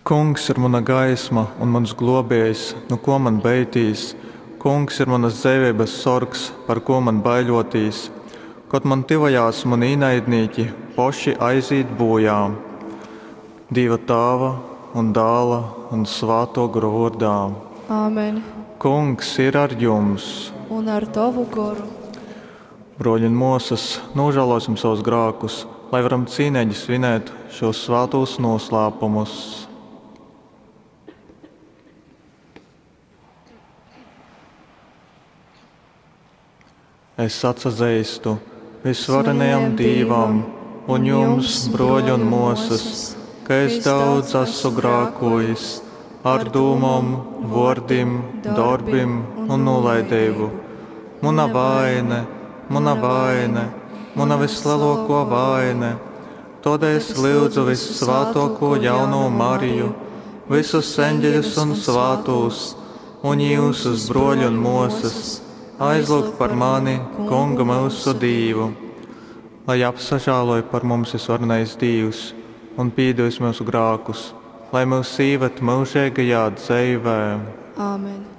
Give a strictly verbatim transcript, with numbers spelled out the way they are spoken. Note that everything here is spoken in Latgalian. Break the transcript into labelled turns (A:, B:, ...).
A: Kungs ir muna gaisma un muns glōbējs, nu kō man beitīs? Kungs ir munas dzeiveibas sorgs, par kū man baiļōtīs? Kod man tyvojās muni īnaidnīki, poši aizīt būjā. Dīva Tāva un Dāla un Svātō Gora vōrdā.
B: Āmen.
A: Kungs ir ar jums.
B: Un ar tovu goru.
A: Brōļi un mōsas, nožēlosim savus grākus, lai varam cīneigi svinēt šos svātūs noslēpumus. Es atsazeistu visvarenajam Dīvam un jums, brōļi un mōsas, ka es daudz esmu grākojis ar dūmom, vōrdim, dorbim un nūlaideibu. Muna vaine, muna vaine, muna vislielākā vaine. Tādēļ es lūdzu vissvātāko jauno Mariju, visus eņģeļus un svātūs, un jūsus, brōļi un mōsas, aizlūgt par mani, Kungu mūsu Dīvu. Lai apsažāloj par mums visvarenais Dīvs un pīdevis mūsu grākus, lai mūs īved mūžīgajā dzeivē.
B: Āmen.